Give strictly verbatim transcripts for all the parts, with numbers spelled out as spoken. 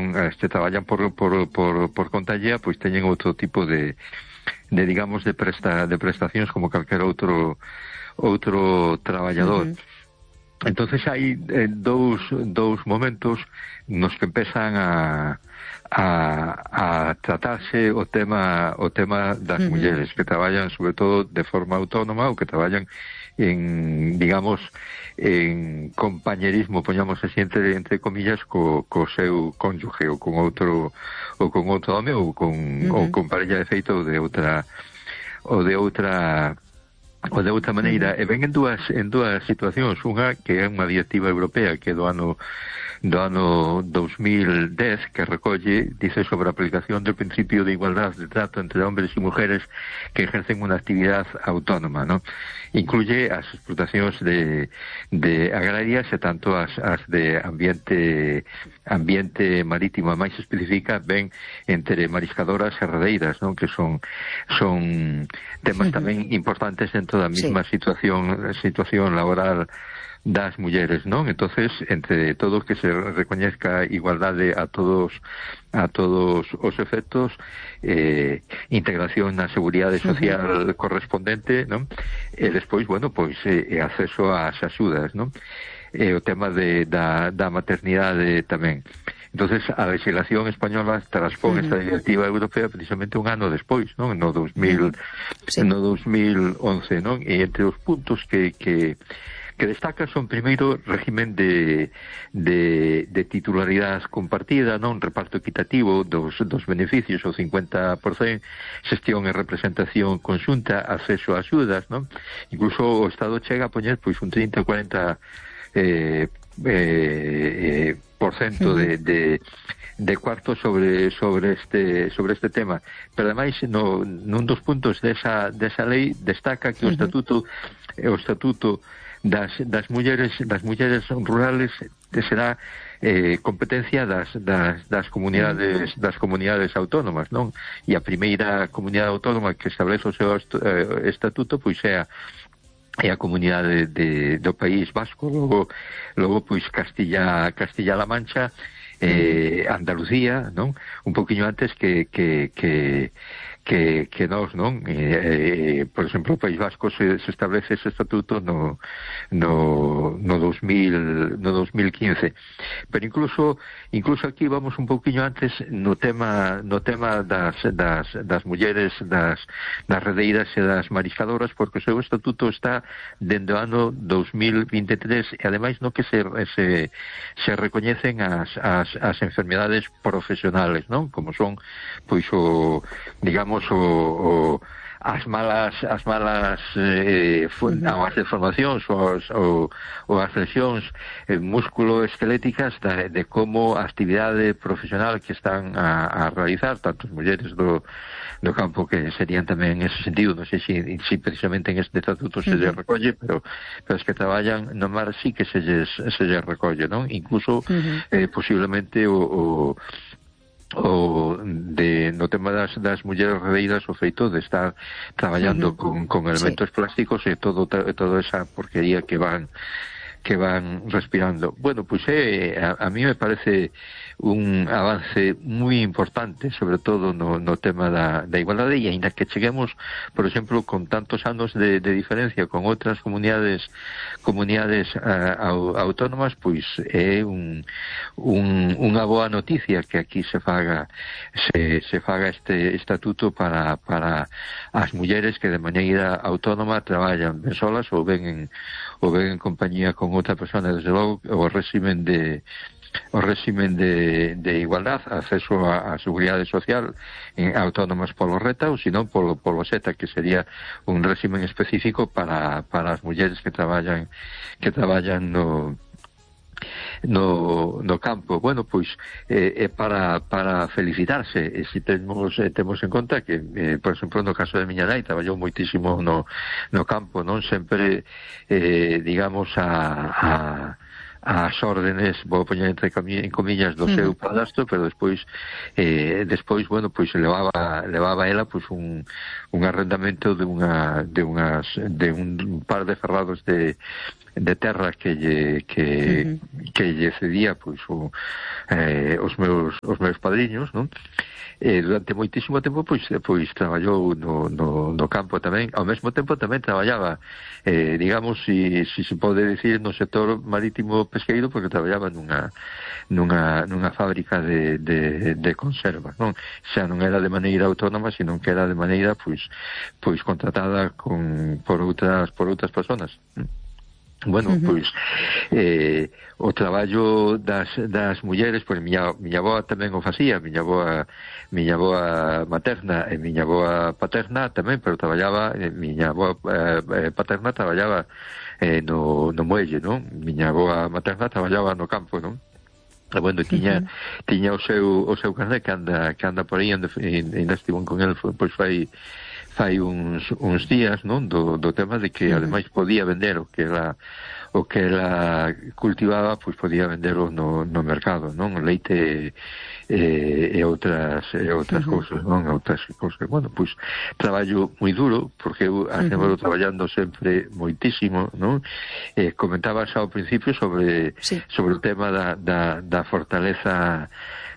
son, este, traballan por, por, por, por conta allea, pois teñen outro tipo de, de digamos, de presta, de prestacións como calquer outro, outro traballador. Uh-huh. Entonces hai eh, dous, dous momentos nos que empezan a, a, a tratarse o tema o tema das uh-huh. mulleres que traballan sobre todo de forma autónoma ou que traballan en, digamos, en compañerismo, poñamos así entre, entre comillas, co, co seu cónyuge ou con outro ou con outro home ou con, uh-huh. ou con parella de feito ou de outra ou de outra ou de outra maneira, e ven en dúas en dúas situacións, unha que é unha directiva europea que é do ano do ano dos mil dez que recolle, dice sobre a aplicación del principio de igualdad de trato entre hombres y mujeres que ejercen una actividad autónoma, ¿no? Incluye as explotacións de, de agrarias e tanto as, as de ambiente ambiente marítimo, máis especifica ben entre mariscadoras e redeiras, ¿no? Que son son temas uh-huh. tamén importantes dentro da mesma sí. situación situación laboral das mulleres, non? Entonces, entre todo que se recoñezca igualdade a todos a todos os efectos, eh, integración na seguridade social uh-huh. correspondente, non? E despois, bueno, pois eh, acceso ás axudas, non? E o tema de, da, da maternidade tamén. Entonces, a legislación española transpón uh-huh. esta directiva europea precisamente un ano despois, non? No dos mil, sí. no dos mil once, non? E entre os puntos que, que que destaca son primeiro régimen de, de, de titularidade compartida, non? Reparto equitativo dos, dos beneficios, o cincuenta por cento, xestión e representación conxunta, acceso a axudas, non? Incluso o Estado chega a poñer pois un trinta a cuarenta eh, eh, por cento de, de de cuarto sobre sobre este sobre este tema, pero ademais no nun dos puntos desa desa lei destaca que o estatuto o estatuto das das mulleres das mulleres rurales será eh, competencia das, das das comunidades das comunidades autónomas, non? E a primeira comunidade autónoma que establece o seu estatuto pois é a é a comunidade de, do País Vasco, logo logo pois Castilla Castilla-La Mancha, eh, Andalucía, non? Un poquinho antes que que que que, que nós, non? Eh, eh, por exemplo, o País Vasco se, se establece ese estatuto no no no dos mil no dos mil quince. Pero incluso incluso aquí vamos un poquinho antes no tema no tema das das das mulleres, das das redeiras e das mariscadoras, porque o seu estatuto está dende o ano dos mil vinte e tres e ademais no que se se se recoñecen as as as enfermedades profesionales, non? Como son pois o digamos o, o as malas as malas eh, non, as deformacións ou, ou, ou as lesións eh, músculo-esqueléticas de, de como a actividade profesional que están a, a realizar tanto as mulleres do, do campo, que serían tamén en ese sentido, non sei se si, si precisamente en este estatuto se lles recolle, pero, pero as que traballan no mar sí que se lles, se lles recolle, non? Incluso uh-huh. eh, posiblemente o, o o de no tema das, das mulleres redeiras o feito de estar traballando uh-huh. con, con elementos sí. plásticos e todo toda esa porquería que van que van respirando. Bueno, pues eh, a, a mí me parece un avance moi importante, sobre todo no, no tema da, da igualdade, e ainda que cheguemos, por exemplo, con tantos anos de, de diferencia con outras comunidades comunidades uh, autónomas, pois é un, un, unha boa noticia que aquí se faga se, se faga este estatuto para, para as mulleres que de maneira autónoma traballan ben solas ou ben en, ou ben en compañía con outra persona. Desde logo o régimen de o régimen de, de igualdad, acceso a, a seguridade social en autónomas polo RETA ou senón polo, polo SETA, que sería un régimen específico para, para as mulleres que traballan que traballan no no, no campo. Bueno, pois é eh, para, para felicitarse, e se temos, eh, temos en conta que eh, por exemplo, no caso de miña nai traballou moitísimo no, no campo, non sempre eh, digamos a, a as órdenes, vou poñer entre comillas, do seu padrastro, pero despois eh, despois, bueno, pois levaba levaba ela pois un un arrendamento de unha de unhas de un par de ferrados de de terra que lle, que, uh-huh. que lle cedía pois o, eh, os meus os meus padriños, non? E durante moitísimo tempo pois pois traballou no, no, no campo tamén, ao mesmo tempo tamén traballaba eh, digamos, si, si se pode decir, no sector marítimo pesqueiro, porque traballaba nunha nunha, nunha fábrica de, de, de conserva, non? Xa non era de maneira autónoma, sino que era de maneira pois pois contratada con por outras por outras persoas. Bueno, uh-huh. pois eh, o traballo das, das mulleres, pois miña, miña avoa tamén o facía, miña avoa miña avoa materna e miña avoa paterna tamén, pero traballaba, eh, miña avoa eh, paterna traballaba eh, no, no muelle, non? Miña avoa materna traballaba no campo, non? E bueno, tiña, uh-huh. tiña o seu o seu carné que anda, que anda por aí, anda, ainda estivo con el, pois fai fai uns, uns días, non, do, do tema de que ademais podía vender o que ela o que ela cultivaba, pois podía venderlo no, no mercado, non, o leite e, e outras e outras uh-huh. cousas, non, outras cousas. Bueno, pois traballo moi duro, porque eu uh-huh. traballando sempre moitísimo, non? Eh, comentabas ao principio sobre sí. sobre o tema da, da, da fortaleza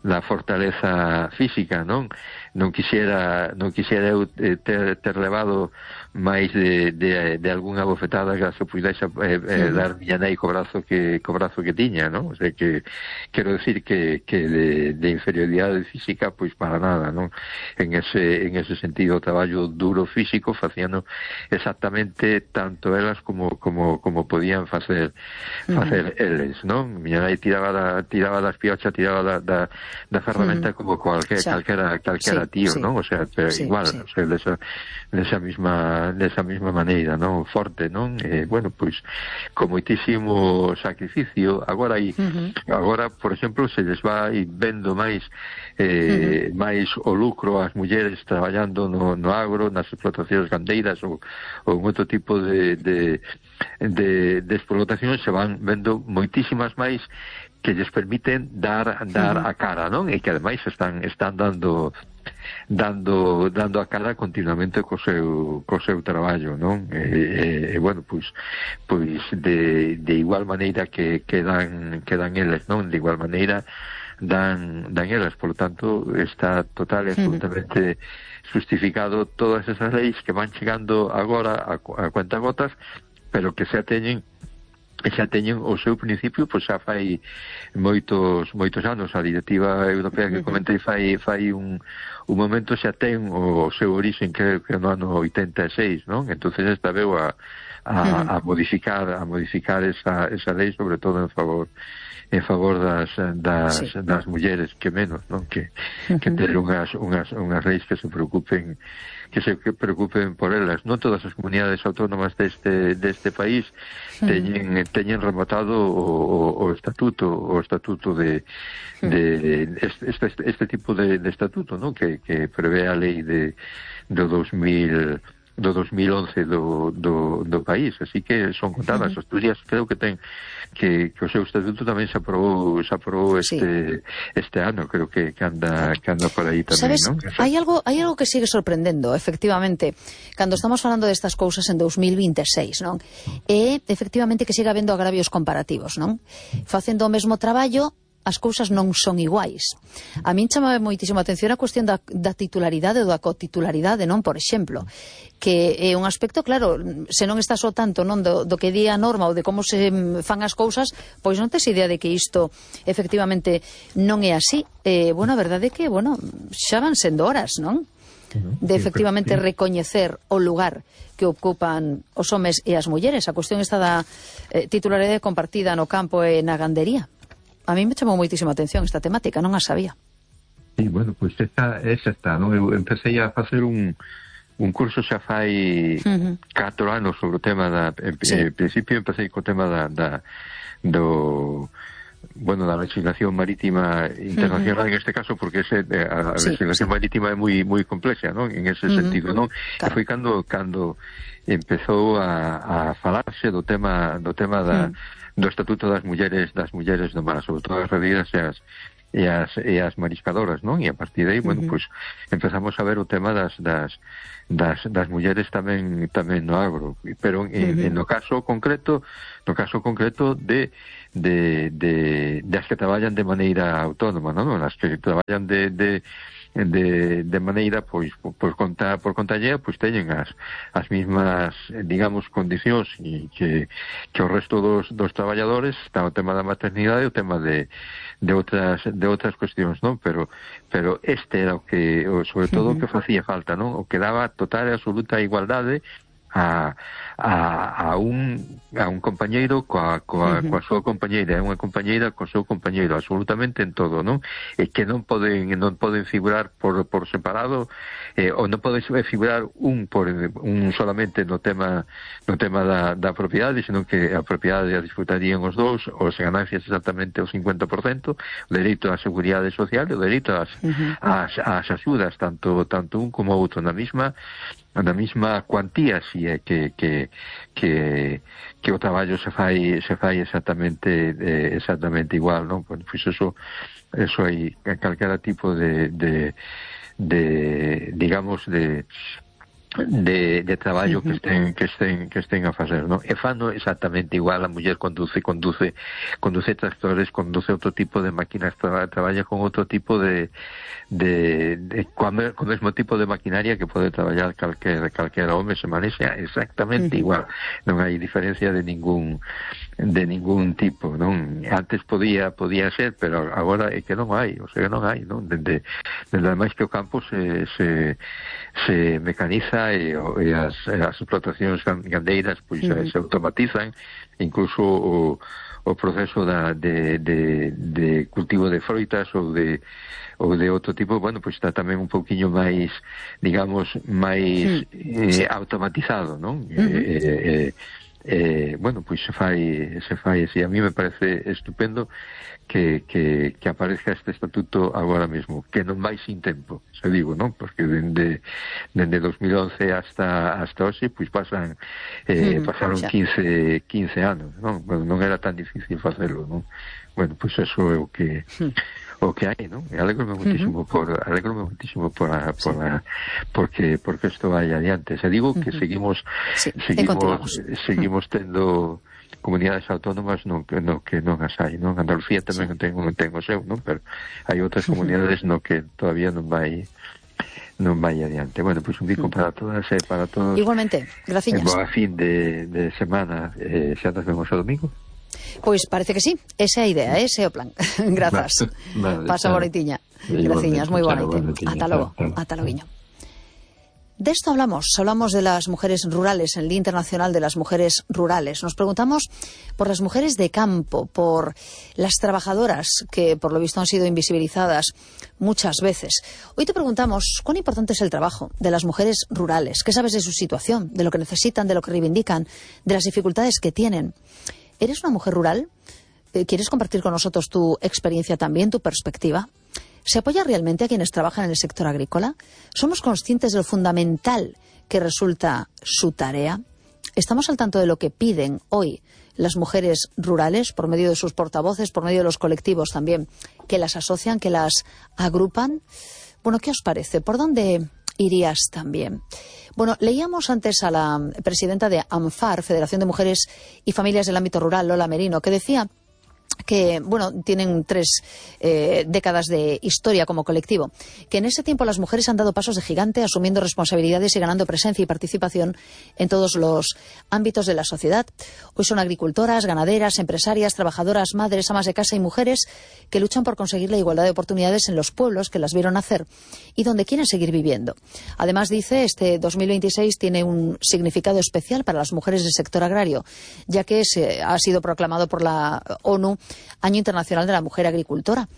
da fortaleza física, non? Non quixera non quixera eu ter, ter levado máis de, de, de algunha bofetada que se pudese eh, eh, dar miña nai co brazo que co brazo que tiña, non? O sea que quero decir que, que de, de inferioridade física, pois para nada, non? En ese en ese sentido, o traballo duro físico facíano exactamente tanto elas como como como podían facer facer uh-huh. eles, non? Miña nai tiraba da tiraba das piochas, tiraba da da, da ferramenta uh-huh. como cualquier sí. calquera calquera sí, tío, sí. non? O sea, pero sí, igual, sí. o sea, desa desa misma desa mesma maneira, non? Forte, non? Eh, bueno, pois con moitísimo sacrificio. Agora aí, uh-huh. agora, por exemplo, se les vai vendo máis eh, uh-huh. máis o lucro ás mulleres traballando no, no agro, nas explotacións gandeiras ou, ou en outro tipo de de, de, de explotacións, se van vendo moitísimas máis que lles permiten dar dar uh-huh. a cara, non? E que ademais están están dando dando dando a cara continuamente co seu co seu traballo, non? E, e, e bueno, pois pois de, de igual maneira que, que dan que dan eles, non? De igual maneira dan dan elas, por lo tanto está total e absolutamente uh-huh. justificado todas esas leis que van chegando agora a, a cuentagotas, pero que se ateñen xa teñen o seu principio, pois xa fai moitos moitos anos. A directiva europea que comentei fai fai un, un momento xa ten o seu orixen que, que no ano oitenta e seis, non? Entonces esta veu a, a, a modificar a modificar esa, esa lei, sobre todo en favor en favor das das, sí. das mulleres, que menos, non? Que, que ter unhas, unhas, unhas leis que se preocupen que se preocupen por elas. Non todas as comunidades autónomas deste deste país teñen teñen rematado o, o, o estatuto o estatuto de de este este tipo de, de estatuto, non? Que que prevé a lei de do dos mil do dos mil once do, do, do país, así que son contadas. Asturias creo que ten que, que o seu estatuto tamén se aprobou se aprobou este sí. este ano, creo que, que anda que anda por aí tamén, ¿sabes? ¿no? Hai algo hai algo que sigue sorprendendo, efectivamente, cando estamos falando destas cousas en dos mil vinte e seis, non? E efectivamente que siga habendo agravios comparativos, non? Facendo o mesmo traballo, as cousas non son iguais. A min chamaba moitísimo a atención a cuestión da, da titularidade ou da cotitularidade, non? Por exemplo, que é un aspecto, claro, se non estás o tanto non do, do que di a norma ou de como se fan as cousas, pois non tes idea de que isto efectivamente non é así. Eh, bueno, a verdade é que, bueno, xa van sendo horas, non? De efectivamente recoñecer o lugar que ocupan os homes e as mulleres. A cuestión está da eh, titularidade compartida no campo e na gandería. A mí me chamou moitísima atención esta temática, non a sabía. Sí, bueno, pois pues esta, esa está, non? Eu empecé a facer un, un curso xa fai uh-huh. catro anos sobre o tema da... En, sí. en principio empecé co tema da, da do... bueno, da legislación marítima internacional, uh-huh. en este caso, porque ese, a, a sí, legislación sí. marítima é moi moi complexa, non? En ese uh-huh. sentido, non? Claro. E foi cando cando empezou a, a falarse do tema do tema da uh-huh. do estatuto das mulleres das mulleres do mar, sobre todo as redeiras e as e as, e as mariscadoras, non? E a partir de aí, bueno, uh-huh. pois empezamos a ver o tema das das das, das mulleres tamén tamén no agro, pero en, uh-huh. en no caso concreto, no caso concreto de de de das que traballan de maneira autónoma, non? As que traballan de de de, de maneira pois por conta por conta allea, pois teñen as as mismas, digamos, condicións e que que o resto dos dos traballadores. Está o tema da maternidade e o tema de de outras de outras cuestións, non? Pero pero este era o que o, sobre todo o que facía falta, non? O que daba total e absoluta igualdade a, a, a un a un compañeiro coa, coa, uh-huh. coa súa compañeira, é unha compañeira co seu compañeiro absolutamente en todo, non? E que non poden non poden figurar por por separado, eh, ou non pode figurar un por un solamente no tema no tema da da propiedade, senón que a propiedade a disfrutarían os dous, os ganancias exactamente o cincuenta por cento, o dereito á seguridade social e o dereito ás uh-huh. ás ás axudas, tanto tanto un como outro na mesma na mesma cuantía, si é que que que que o traballo se fai se fai exactamente eh, exactamente igual, non? Pois pues eso eso hai calquera tipo de de de digamos de de, de traballo que estén que estén que estén a facer, non? E fano exactamente igual. A muller conduce conduce conduce tractores, conduce outro tipo de máquinas, tra, traballa con outro tipo de de, de con o mesmo tipo de maquinaria que pode traballar calquer calquera home, se manexa exactamente igual. Non hai diferencia de ningún de ningún tipo, non? Antes podía podía ser, pero agora é que non hai, o sea, non hai, non? Dende dende ademais que o campo se se se mecaniza e, e as, as explotacións gandeiras pois uh-huh. se automatizan, incluso o, o proceso da, de, de, de cultivo de froitas ou de ou de outro tipo, bueno, pois está tamén un pouquiño máis, digamos, máis uh-huh. eh, automatizado, non? Uh-huh. Eh, eh, eh, bueno, pois se fai se fai así. A mí me parece estupendo que, que, que aparezca este estatuto agora mesmo, que non vai sin tempo, se digo, non? Porque dende dende dos mil once hasta hasta hoxe, pois pasan eh, pasaron quince, quince anos, non? Bueno, non era tan difícil facelo, non? Bueno, pois eso é o que o que hai, non? E alegro-me muitísimo uh-huh. por alegro-me muitísimo por a, por a, porque porque isto vai adiante. Se digo que uh-huh. seguimos sí, seguimos seguimos tendo comunidades autónomas no que no que non as hai, non? Andalucía tamén sí. ten un ten o seu, non? Pero hai outras comunidades no que todavía non vai non vai adiante. Bueno, pois pues un bico uh-huh. para todas e para todos. Igualmente, graciñas. Boa fin de, de semana, eh, xa nos vemos o domingo. Pois parece que sí, esa é a idea, ese é o plan. Grazas. Vale, Pasa bonitiña. Graciñas, moi boa noite. Ata logo, ata loguiño. De esto hablamos, hablamos de las mujeres rurales, en el Día Internacional de las Mujeres Rurales. Nos preguntamos por las mujeres de campo, por las trabajadoras que por lo visto han sido invisibilizadas muchas veces. Hoy te preguntamos cuán importante es el trabajo de las mujeres rurales. ¿Qué sabes de su situación, de lo que necesitan, de lo que reivindican, de las dificultades que tienen? ¿Eres una mujer rural? ¿Quieres compartir con nosotros tu experiencia también, tu perspectiva? ¿Se apoya realmente a quienes trabajan en el sector agrícola? ¿Somos conscientes de lo fundamental que resulta su tarea? ¿Estamos al tanto de lo que piden hoy las mujeres rurales por medio de sus portavoces, por medio de los colectivos también que las asocian, que las agrupan? Bueno, ¿qué os parece? ¿Por dónde irías también? Bueno, leíamos antes a la presidenta de AMFAR, Federación de Mujeres y Familias del Ámbito Rural, Lola Merino, que decía que, bueno, tienen tres eh, décadas de historia como colectivo, que en ese tiempo las mujeres han dado pasos de gigante, asumiendo responsabilidades y ganando presencia y participación en todos los ámbitos de la sociedad. Hoy son agricultoras, ganaderas, empresarias, trabajadoras, madres, amas de casa y mujeres que luchan por conseguir la igualdad de oportunidades en los pueblos que las vieron nacer y donde quieren seguir viviendo. Además, dice, este dos mil veintiséis tiene un significado especial para las mujeres del sector agrario, ya que se ha sido proclamado por la ONU Año Internacional de la Mujer Agricultora.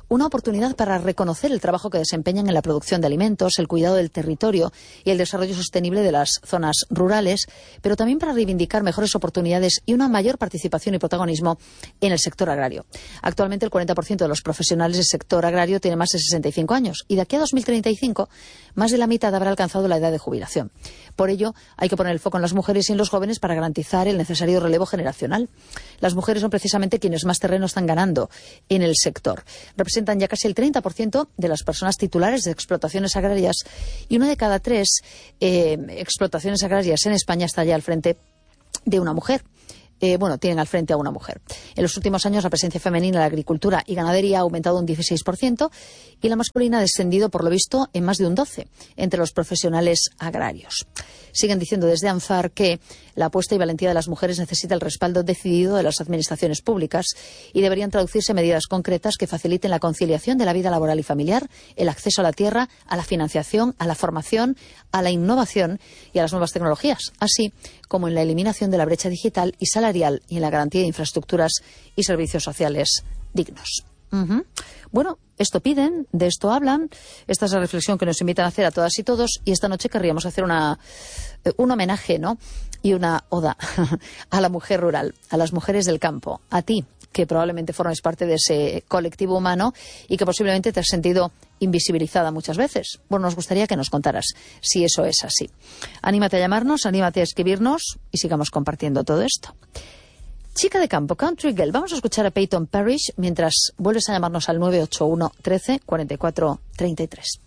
Una oportunidad para reconocer el trabajo que desempeñan en la producción de alimentos, el cuidado del territorio y el desarrollo sostenible de las zonas rurales, pero también para reivindicar mejores oportunidades y una mayor participación y protagonismo en el sector agrario. Actualmente el cuarenta por ciento de los profesionales del sector agrario tiene más de sesenta y cinco años y de aquí a dos mil treinta y cinco más de la mitad habrá alcanzado la edad de jubilación. Por ello, hay que poner el foco en las mujeres y en los jóvenes para garantizar el necesario relevo generacional. Las mujeres son precisamente quienes más terreno están ganando en el sector. Representan ya casi el treinta por ciento de las personas titulares de explotaciones agrarias y una de cada tres eh, explotaciones agrarias en España está ya al frente de una mujer. Eh, bueno, tienen al frente a una mujer. En los últimos años la presencia femenina en la agricultura y ganadería ha aumentado un dieciséis por ciento y la masculina ha descendido, por lo visto, en más de un doce por ciento entre los profesionales agrarios. Siguen diciendo desde ANFAR que la apuesta y valentía de las mujeres necesita el respaldo decidido de las administraciones públicas y deberían traducirse en medidas concretas que faciliten la conciliación de la vida laboral y familiar, el acceso a la tierra, a la financiación, a la formación, a la innovación y a las nuevas tecnologías, así como en la eliminación de la brecha digital y salarial y en la garantía de infraestructuras y servicios sociales dignos. Uh-huh. Bueno, esto piden, de esto hablan, esta es la reflexión que nos invitan a hacer a todas y todos, y esta noche querríamos hacer una, un homenaje, ¿no? Y una oda a la mujer rural, a las mujeres del campo, a ti, que probablemente formes parte de ese colectivo humano y que posiblemente te has sentido invisibilizada muchas veces. Bueno, nos gustaría que nos contaras si eso es así. Anímate a llamarnos, anímate a escribirnos y sigamos compartiendo todo esto. Chica de campo, Country Girl. Vamos a escuchar a Peyton Parrish mientras vuelves a llamarnos al nueve ocho uno, trece, cuarenta y cuatro, treinta y tres.